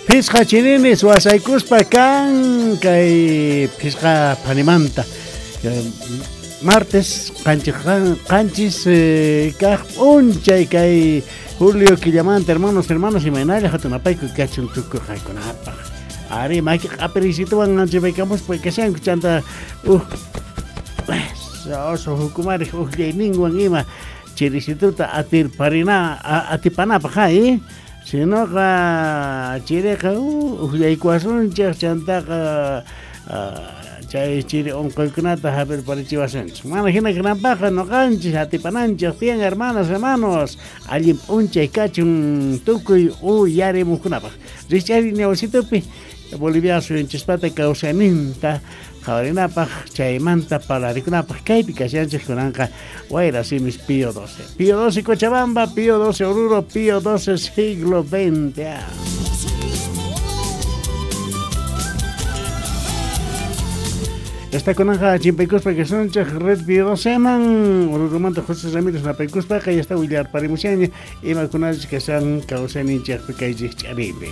Phisqa chirinis wasaykuspa kan kay phisqa phanimanta. Martes qanchis kaq p'unchay kay julio killamanta, hermanos, hermanas, imaynalla hatunapayku kachun tukuy qankunapaq. Ari maki q'apirisituwan anchipaykamuspa kashanku chanta oso hukumariq uqllayninwan ima chirisituta atirparina atipanapaq hay. Sinoqa chiriqa uqllaykuwasunchik chantaqa chay chiri unquykunata hap'irparichiwasunchik. Mana hina kananpaqqa ñuqanchik atipananchik tiyan, hermanas, hermanos, allin p'unchay kachun tukuy uyarimuqkunapaq. Rikch'ari ñawsitupi Bolivia suyunchispata kawsayninta qhawarinapaq chaymanta parlarikunapaq kaypi kashanchik kunanqa Wayra Simis Pío 12. Pío 12 Cochabamba, Pío 12 Oruro, Pío 12 siglo XX. Esta kunanqa chimpaykuspa kasunchik Red Pío 12 man Oruromanta José Ramírez napaykuspaqa ya está willarparimushaña imakunachus kashan kawsayninchikpi kay rikch'aripi.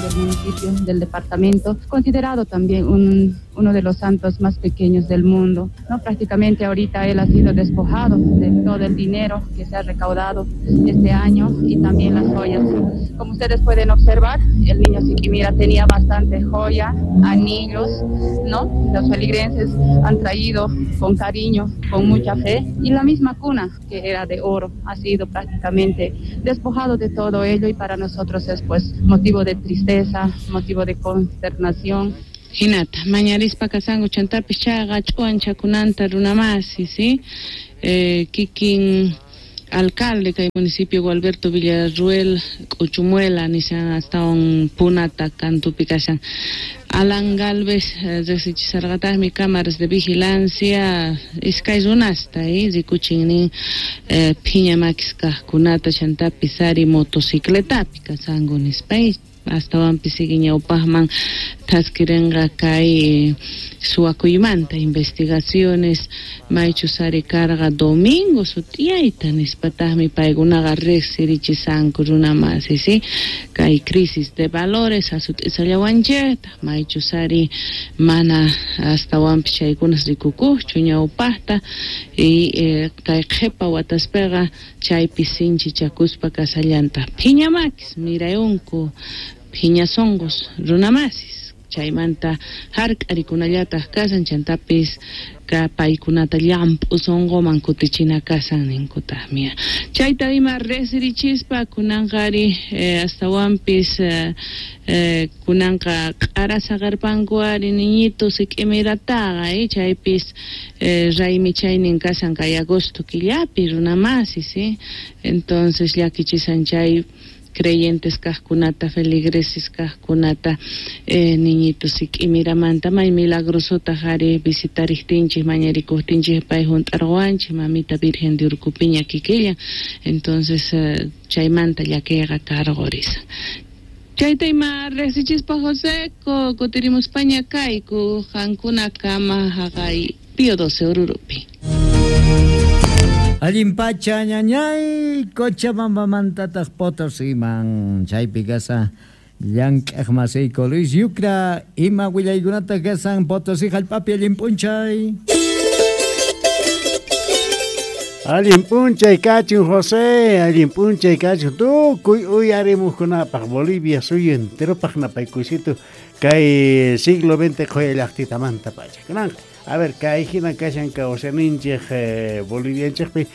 Del municipio, del departamento, considerado también uno de los santos más pequeños del mundo, ¿no? Prácticamente ahorita él ha sido despojado de todo el dinero que se ha recaudado este año y también las joyas. Como ustedes pueden observar, el niño Siquimira tenía bastante joya, anillos, ¿no? Los feligreses han traído con cariño, con mucha fe, y la misma cuna que era de oro ha sido prácticamente despojado de todo ello, y para nosotros es pues motivo de tristeza, motivo de consternación. Hinata, mañarispa kasanku chantapis chayqa ch'uwanchakunanta runamasi, ¿sí? Kikin alcalde kay municipio Gualberto Villarruel K'uchumuela nishan astawan Punata kantupi kashan. Alan Galvez riqsichisarqataqmi cámaras de vigilancia iskay runasta rikuchin nin phiña makis kaqkunata chantapis ari motocicletapi kasanku nispa astawanpis sigue ñawpaqman thaskirinqa kay suwakuymanta investigaciones maychus ari karqa domingo sut'iyayta nispataqmi paykunaqa riqsirichisanku runamasi, ¿sí? Kay crisis de valores asut'isallawanchikta maychus ari mana astawanpis chaykunas rikukuqchu ñawpaqta y kay qhipa wataspiqa chaypi sinchichakuspa kasallantaq phiña makis mirayunku phiña sunqus runamasis chaymanta hark'arikunallataq kasan chantapis ka paykunata llamp'u sunquman kutichina kasan ninkutaqmi. Chayta ima riqsirichispa kunanqa ari astawanpis kunanqa q'ara saqarpanku ari niñito Siquimirataqa chaypis raymi chaynin kasan kay agosto killapi runamasis, ¿sí? Entonces llakichisan chay creyentes kaqkunata, feligreses kaqkunata, niñito Siquimiramanta may milagrosotaq ari visitariktinchik mañarikuqtinchik pay hunt'arqawanchik mamita Virgen de Urcupiña kikillan, entonces chaymanta llakiyqa karqurisan. Chayta ima riqsichispa José kutirimuspaña kayku qankuna kama haqay Pío 12 Orurupi. Allin pacha ñañay Cochabambamantataq Potosiman chaypi kasa llank'aq masiyku Luis Yucra ima willaykunataq kasan Potosí hallp'api allin p'unchay. Allin p'unchay kachun José, allin p'unchay kachun tukuy uyarimuqkunapaq Bolivia suyu enteropaq napaykuysito kay siglo XX qhuya llaqtitamanta pacha. Kunanqa a ver, kay hina kashan kawsayninchik Bolivianchikpi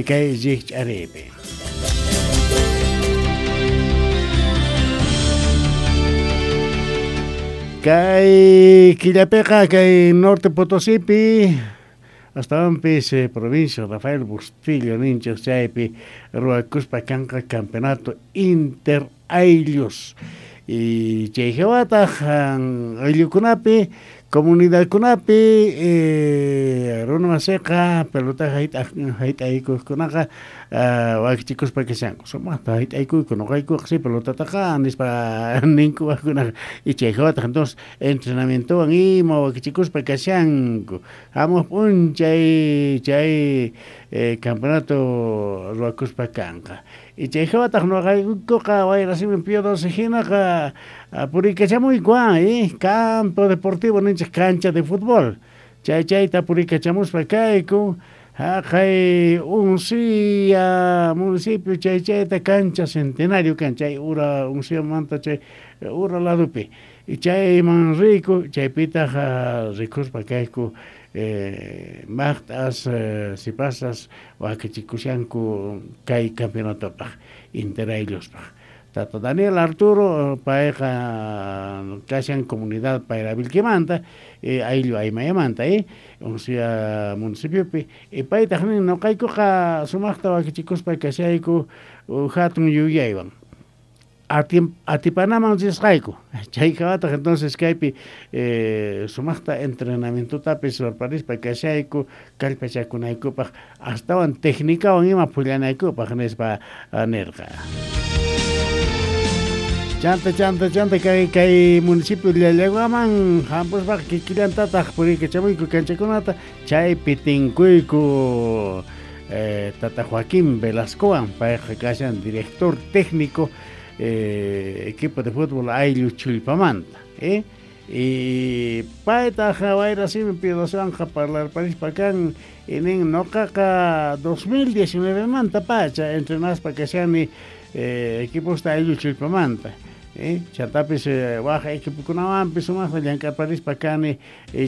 kay rikch'aripi. Kay killapiqa kay Norte Potosípi astawanpis provincia Rafael Bustillo ninchik chaypi ruwakuspa kanqa campeonato inter ayllus. Y chay hawataq ayllukunapi Comunidadkunapi runa masiqa pelota hayt'aykuqkunaqa wakichikuspa kashanku sumaqta hayt'aykuyku nuqaykuqa si pelotataqa nispa ninku waqkunaqa y chay hawataq entonces entrenamientowan ima wakichikuspa kashanku hamuq p'unchay chay campeonato ruwakuspa kanqa y chay hawataq nuqaykuqa Wayrasimin Pío XII hinaqa purikachamuyku campo deportivo ninchik cancha de fútbol chay chayta purikachamuspa kayku haqay Uncía municipio chay chayta cancha centenario kan chay ura Unciamanta chay ura ladopi y chayman riyku chaypitaq rikuspa kayku maqt'as sipasas wakichikushanku kay campeonatopaq interaylluspaq Tata Daniel Arturo payqa kashan comunidad Payravilquimanta ayllu Aymayamanta Uncía municipiopi y paytaq nin nuqaykuqa sumaqta wakichikuspa kashayku hatun yuyaywan atipanaman risqayku chay hawataq entonces kaypi sumaqta entrenamientotapis ruwarparispa kashayku kallpachakunaykupaq astawan técnicawan ima phullanaykupaq nispa nirqa. Chanta chanta chanta kay municipio Llallaguaman hampuspaq kikillantataq purikachamuyku kanchakunata chaypi tinkuyku Tata Joaquín Velascowan payqa kashan director técnico equipo de fútbol ayllu Chullpamanta y paytaq Wayrasimin Pío XII parlarparispa kan y nin nuqaqa 2019 manta pacha entrenaspa kashani equiposta ayllu Chullpamanta chantapis waq equipokunawanpis sumaqta llank'arparispa kani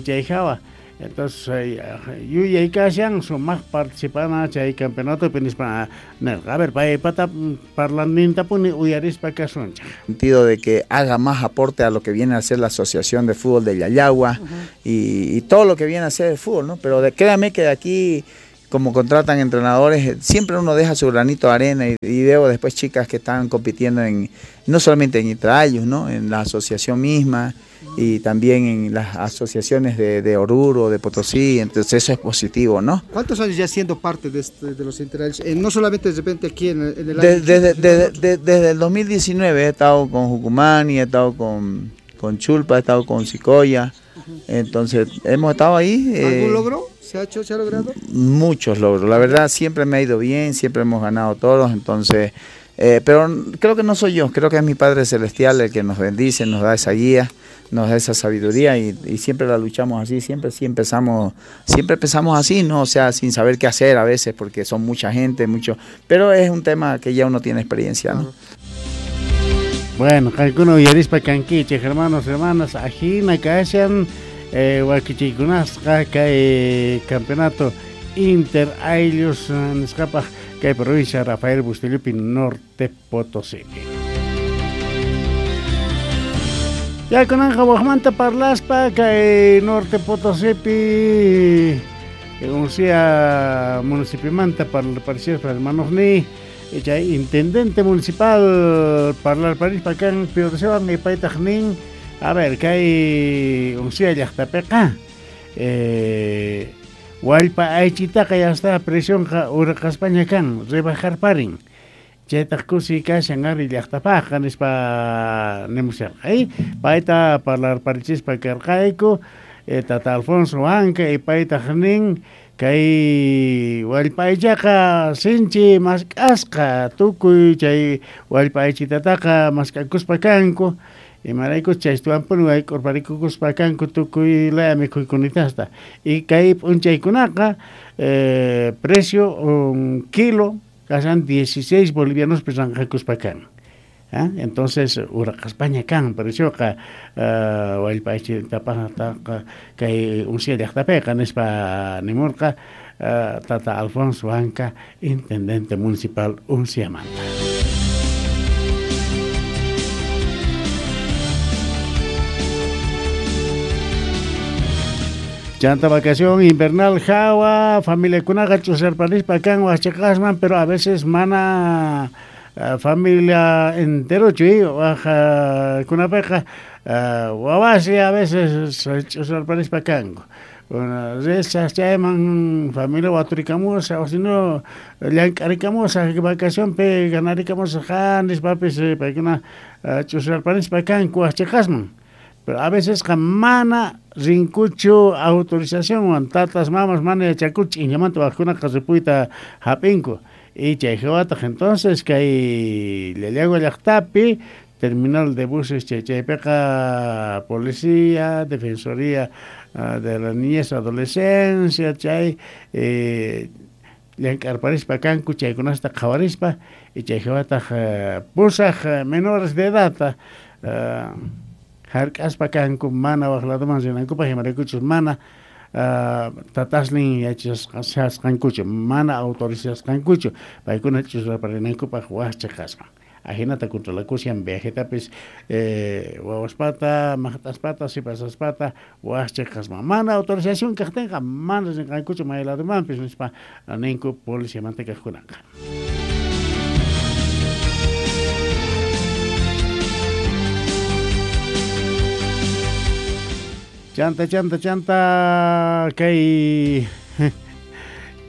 chay hawa entonces yuyay kashan sumaq participana chay campeonatopi nispa nirqa. A ver paypata parlanintapuni uyarispa kasunchik. Sentido de que haga más aporte a lo que viene a ser la Asociación de Fútbol de Llallagua y todo lo que viene a ser el fútbol, ¿no? Pero créame que de aquí, como contratan entrenadores, siempre uno deja su granito de arena y veo después chicas que están compitiendo en no solamente en Intrayus, ¿no? En la asociación misma y también en las asociaciones de Oruro, de Potosí, entonces eso es positivo, ¿no? ¿Cuántos años ya siendo parte de los Intrayus? No solamente de repente aquí en el año... Desde el 2019 he estado con Jucumani, he estado con Chulpa, he estado con Sicoya, entonces hemos estado ahí. ¿Algún logro? ¿Se ha hecho, se ha logrado? Muchos logros, la verdad siempre me ha ido bien, siempre hemos ganado todos, entonces, pero creo que no soy yo, creo que es mi Padre Celestial el que nos bendice, nos da esa guía, nos da esa sabiduría y siempre la luchamos así, siempre empezamos así, ¿no? O sea, sin saber qué hacer a veces porque son mucha gente, mucho, pero es un tema que ya uno tiene experiencia, ¿no? Bueno, qaykuna uyarispa kankichik, hermanos, hermanas, ajina kashan wakichiykunasqa kay campeonato Inter Ayllus nisqapaq kay provincia Rafael Bustillopi Norte Potosí. Ya kunanqa waqmanta parlaspa kay Norte Potosipi Uncía municipiomanta parlarparispa hermanos ni chay intendente municipal parlarparispa kan Pío XII y paytaq nin. A ver, kay Uncía llaqtapiqa wallpa aychitaqa ya está presionqa urqaspaña kan rebajarparin chaytaq kusi kashan ari llaqtapaqqa nispa nimusharqa payta parlarparichispa karqayku Tata Alfonso Huanca y paytaq nin kay wallpa aychaqa sinchi mask'asqa tukuy chay wallpa aychitataqa mask'akuspa kanku imarayku chaystuwanpuni wayk'urparikukuspa kanku tukuy laya mikhuykunitasta y kay p'unchaykunaqa precio un kilo kashan 16 bolivianos ranqakuspa kan. Entonces uraqaspaña kan precioqa wallpa aychitapaqtaqa kay Uncía llaqtapiqa nispa nimurqa Tata Alfonso Huanca, intendente municipal Unciamanta. Chanta vacación invernal hawa, familiakunaqa ch'usarparispa kan wasiqasman, pero a veces mana Familia enterochu waj kunapiqa wawasi a veces ch'usarparispa kanku. Risaq chayman familia waturikamusaq o si no llank'arikamusaq vacacionpi ganarikamusaq nispapis paykuna ch'usarparispa kanku waj chiqasman. Pero a veces mana rinkuchu autorizacionwan tatas mamas mana yachakuchu ch'inllamanta wajkunaqa ripuyta hap'inku. Y chay hawataq entonces kay Llallagua llaqtapi terminal de buses chaypiqa policía, defensoría de la niñez, adolescencia, chay llank'arparispa kanku chaykunasta qhawarispa y chay hawataq pusaq menores de edad hark'aspa kanku mana waj ladoman rinankupaq imaraykuchus mana tatasnin yachasqankuchu mana autorizasqankuchu paykuna ch'usarparinankupaq waj chiqasman. Ajinata controlakushan viajetapis wawaspata, maqt'aspata, sipasaspata waj chiqasman. Mana autorización kaqtinqa mana rinqankuchu may ladomanpis nispa ninku policiamanta kaqkunaqa. Chanta, chanta, chanta, kay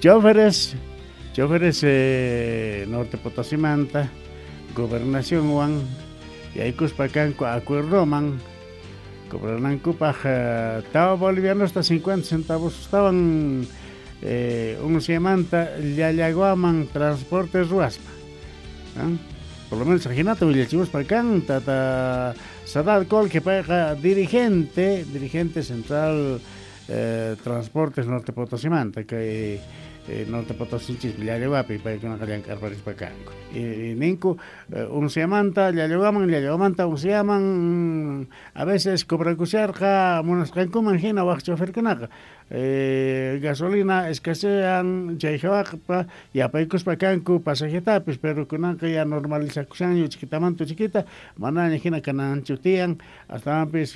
choferes Norte Potosimanta, gobernacionwan, yaykuspa kanku acuerdoman, cobranankupaq tawa bolivianosta 50 centavos estaban unciamanta Llallaguaman transporte ruaspa. Por lo menos ajinata willachimuspa kan tata Sadad Col, que payqa dirigente central Transportes Norte Potosimanta, kay Norte Potosinchis Llallaguapi paykunaqa llank'arparispa kanku. Y ninku unciamanta Llallaguaman, Llallaguamanta unciaman a veces cobrakusharqa munasqankuman hina waj choferkunaqa. Gasolina escasean chay hawaqpa yapaykuspa kanku pasajetapis, pero kunanqa ya normalizakushanñu chiquitamanta chiquita manaña hina kananchu tiyan astawanpis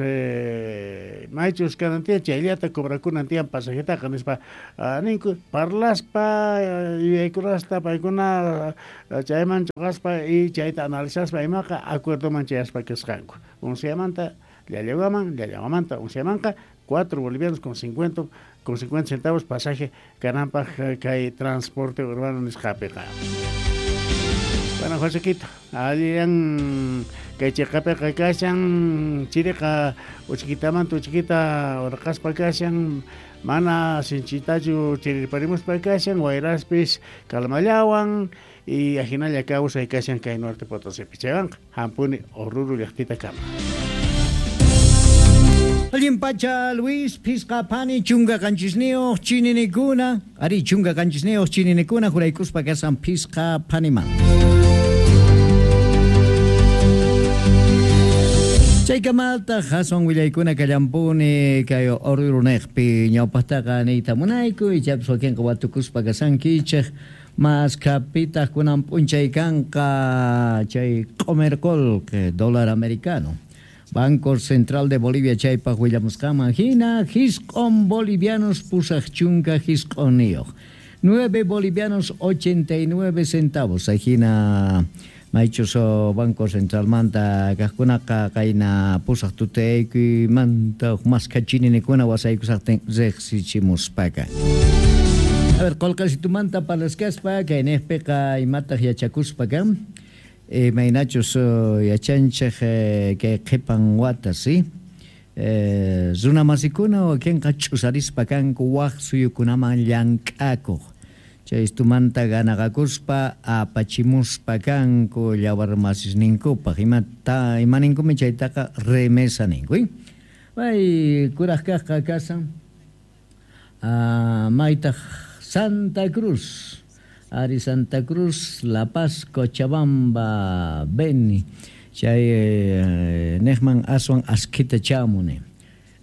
maychus kanan tiyan chayllata cobrakunan tiyan pasajetaqa nispa ninku parlaspa yuyaykunasta paykuna chayman chuqaspa y chayta analizaspa imaqa acuerdoman chayaspa kasqanku. Unciamanta Llallaguaman, Llallaguamanta unciamanqa 4 bolivianos con 50 centavos pasaje kananpaq kay transporte urbano nisqapiqa. Bueno, Josequito, allan kay chiqapiqa kashan chiriqa uchikitamanta uchiquita urqaspa kashan mana sinchitachu chirirparimuspa kashan wayraspis kalmallawan y ajinalla kawsay kashan kay Norte Potosipi. Chaywanqa hampuni Oruro llaqtita kama. Allin pacha Luis phisqa phani chunka qanchisniyuq chininikuna ari chunka qanchisniyuq chininikuna juraykuspa kasan phisqa phaniman. Chaykamaltaq aswan willaykuna kallampuni kay Oruruniqpi ñawpaqtaqa niyta munayku ichapas wakinqa watukuspa kasankichik mas kapitaq kunan p'unchay kanqa chay q'umir qullqi dólar americano. Banco Central de Bolivia chaypaq willamusqanman hina hisq'un bolivianos pusaq chunka hisq'unniyuq 9 bolivianos 89 centavos hina maychus Banco Centralmanta kaqkunaqa qayna pusaq tutaykuymanta huk maskha chininikuna wasaykusaqtin riqsichimuspaka. A ver, qullqasitumanta parlaskaspa kayniqpiqa imataq yachakuspa kan imaynachus yachanchik kay qhipan wata si runamasikuna wakinqa ch'usarispa kanku waj suyukunaman llank'akuq chay istumanta ganaqakuspa apachimuspa kanku llawarmasisninkupaq imata imaninkumi chaytaqa remesa ninku. May kuraq kaqqa kasan maytaq Santa Cruz Ari Santa Cruz, La Paz, Cochabamba, Beni, chay nejman aswan askhita chamuni.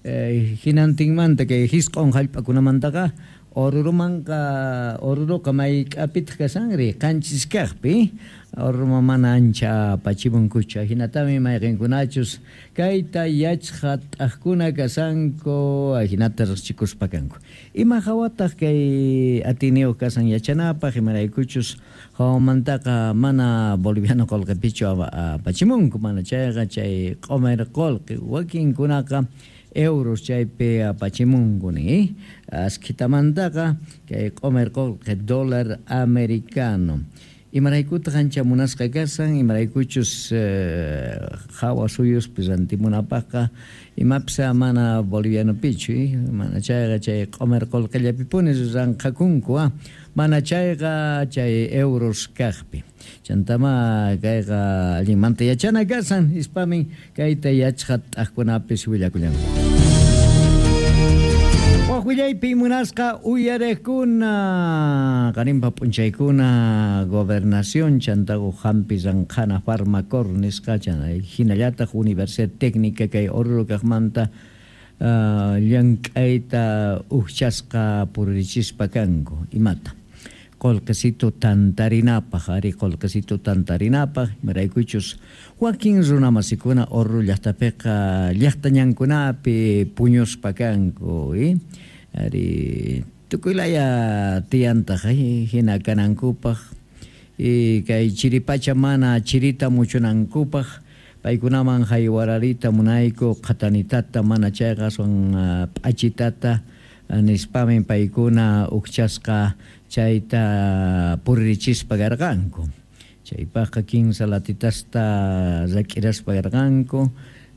Hinantinmanta kay hisq'un hallp'akunamantaqa Orurumanqa Oruruqa mayk'apitaq kasanri qanchis kaqpi Oruruma mana ancha apachimunkuchu ajinatami mayqinkunachus kayta yachqat'aqkuna kasanku ajinata riqchikuspa kanku ima hawataq kay atiniyuq kasan yachanapaq imaraykuchus hawamantaqa mana boliviano qullqipichu apachimunku mana chayqa chay q'umir qullqi wakinkunaqa euros chaypi apachimunku ni askhitamantaqa kay q'umir qullqi dólar americano imaraykutaq ancha munasqa kasan imaraykuchus hawa suyuspi rantimunapaqqa imapis mana bolivianopichu mana chayqa chay q'umir qullqillapipuni ranqakunku mana chayqa chay euros kaqpi chantama kayqa allinmanta yachana kasan nispamin kayta yachqat'aqkunapis willakullanku. Waq willaypi munasqa uyariqkuna qarinpa p'unchaykuna gobernación chantaqa hampi ranqhana farmacor nisqa hinallataq Universidad Técnica kay Oruro kaqmanta llank'ayta ujchasqa purichispa kanku imata qullqisito tantarinapaq ari qullqisito tantarinapaq imaraykuchus wakin runamasikuna Oruro llaqtapiqa llaqta ñankunapi puñuspa kanku ari tukuylaya tiyantaq hina kanankupaq kay chiripacha mana chirita muchunankupaq paykunaman haywararita munayku qhatanitata mana chayqa aswan p'achitata nispamin paykuna ujchasqa chayta purichispa karqanku chaypaqqa 15 latitasta rak'iraspa karqanku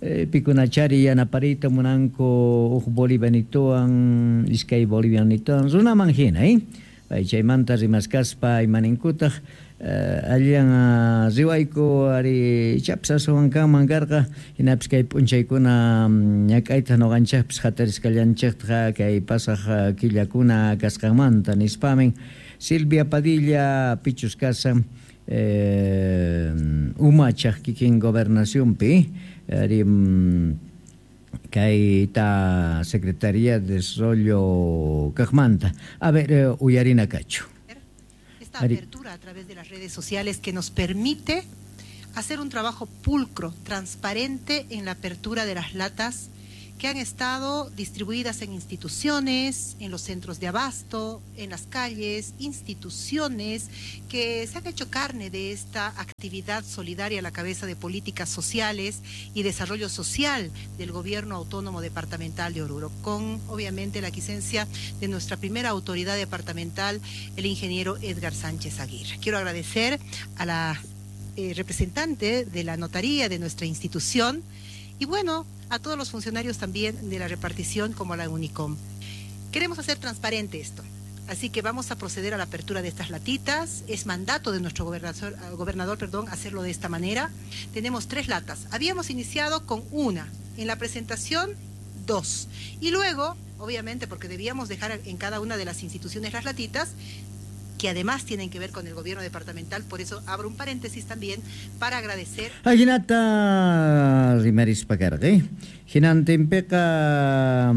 pikunachari yanapariyta munanku huk bolivianituwan iskay bolivianituwan runaman hina pay chaymanta rimaskaspa imaninkutaq allan riwayku ari ichapis aswan kanman karqa hinapis kay p'unchaykuna ñak'ayta ñuqanchikpis hatarisqallanchikta kay pasaq killakuna kasqanmanta nispamin Silvia Padilla pichus kasan umachaq kikin gobernacionpi ari kayta Secretaría de Desarrollo kaqmanta a ver uyarina kachu. Esta apertura a través de las redes sociales que nos permite hacer un trabajo pulcro, transparente en la apertura de las latas que han estado distribuidas en instituciones, en los centros de abasto, en las calles, instituciones que se han hecho carne de esta actividad solidaria a la cabeza de políticas sociales y desarrollo social del Gobierno Autónomo Departamental de Oruro, con obviamente la quisencia de nuestra primera autoridad departamental, el ingeniero Edgar Sánchez Aguirre. Quiero agradecer a la representante de la notaría de nuestra institución y bueno, a todos los funcionarios también de la repartición como a la Unicom. Queremos hacer transparente esto, así que vamos a proceder a la apertura de estas latitas. Es mandato de nuestro gobernador, hacerlo de esta manera. Tenemos 3 latas. Habíamos iniciado con una, en la presentación 2. Y luego, obviamente, porque debíamos dejar en cada una de las instituciones las latitas, que además tienen que ver con el gobierno departamental, por eso abro un paréntesis también para agradecer. Ajinata rimarispa karqa hinantinpiqa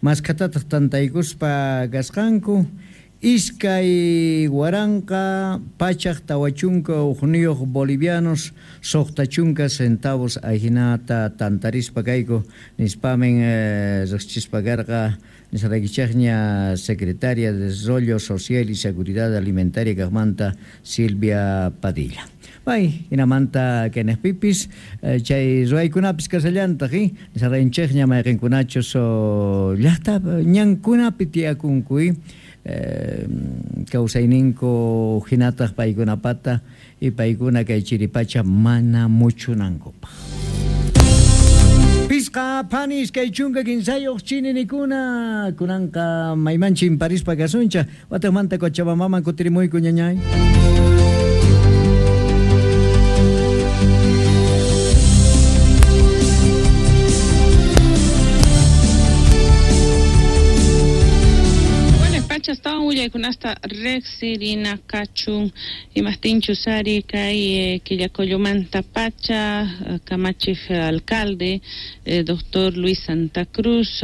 maskhatataq tantaykuspa kasqanku iskay waranqa pachaq tawachunka uqniyuq bolivianos 60 centavos ajinata tantarispa kayku nispamin riqchispa karqa nisaraykichaqña Secretaria de Desarrollo Social y Seguridad Alimentaria kaqmanta Silvia Padilla. Bay, hinamanta kenejpipis chay ruwaykunapis kasallantaq nisarayinchikña mayqinkunachus llaqta ñankunapi tiyakunku kawsayninku hinataq paykunapata y paykuna kay chiripacha mana muchunankupaq. Pisqa panis kay chunka kinsayuq chininikuna kunanqa maymanchin parispa kasuncha wataqmanta Cochabambaman kutirimuyku ñañay. Tawan willaykunasta Willaykunasta riqsirina kachun imaqtinchus ari kay Quillacollomanta pacha kamachiq alcalde doctor Luis Santa Cruz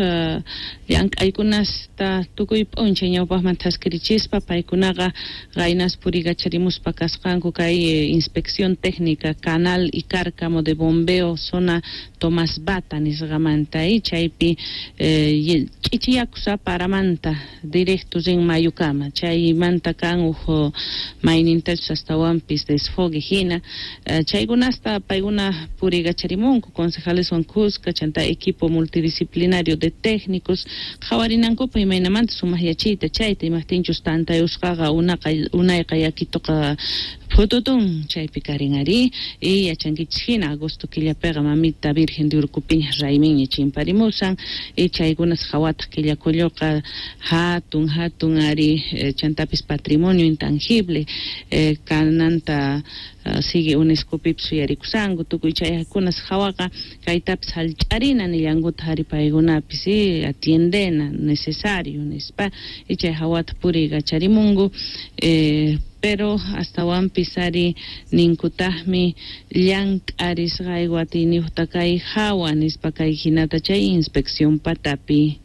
llank'aykunasta tukuy p'unchay ñawpaqman thaskirichispa paykunaqa qaynas purigacharimuspa kasqanku kay inspección técnica canal y cárcamo de bombeo zona Tomás Bata nisqamanta y chaypi ch'ichiyakusa paramanta directo rin mayukama chaymanta kan uj maynintachus astawanpis desfogue hina chaykunasta paykuna purigacharimunku concejaleswan kuska chanta equipo multidisciplinario de técnicos qhawarinankupa imaynamanta sumaq yachiyta chayta imaqtinchus tantayusqaqa unayqa yakituqa phututun chaypi karin ari y yachankichis hina agosto killapiqa mamita Virgen de Urcupiña rayminña chimparimusan y chaykunas qhawataq Quillacolloqa hatun hatun ari chantapis patrimonio intangible kananta sigue UNESCO-pipis suyarikusanku tukuy chaykunas qhawaqa kaytapis hallch'arina nillankuta ari paykunapis atiendena necesario nispa y chay hawata puriykacharimunku pero astawanpis ari ninkutaqmi llank'arisqayku atiyniyuqta kay hawa nispa kay hinata chay inspección patapi.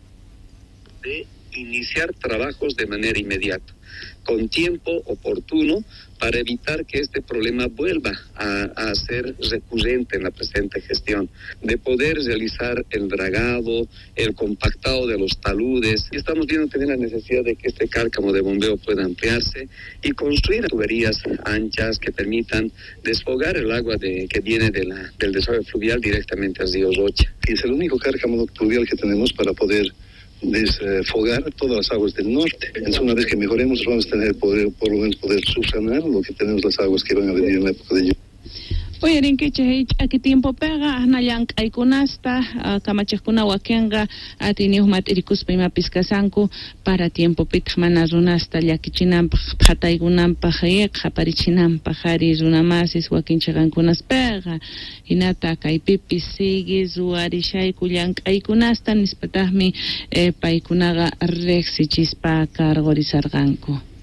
De iniciar trabajos de manera inmediata, con tiempo oportuno para evitar que este problema vuelva a ser recurrente en la presente gestión, de poder realizar el dragado, el compactado de los taludes. Y estamos viendo también la necesidad de que este cárcamo de bombeo pueda ampliarse y construir tuberías anchas que permitan desfogar el agua que viene del desagüe fluvial directamente al río Rocha. Y es el único cárcamo fluvial que tenemos para poder desfogar todas las aguas del norte. Entonces, una vez que mejoremos, vamos a tener poder, por lo menos poder subsanar lo que tenemos las aguas que van a venir en la época de lluvia. Uyarinkichik ch'aki tiempopiqa asna llank'aykunasta kamachiqkuna wakinqa atiyniyuq mat'irikuspa imapis kasanku para tiempopitaq mana runasta llakichinanpaq phataykunanpaq qhaparichinanpaq ari runamasis wakin chiqankunaspiqa hinata kaypipis sigue ruwarishayku llank'aykunasta nispataqmi paykunaqa riqsichispa cargorizarqanku.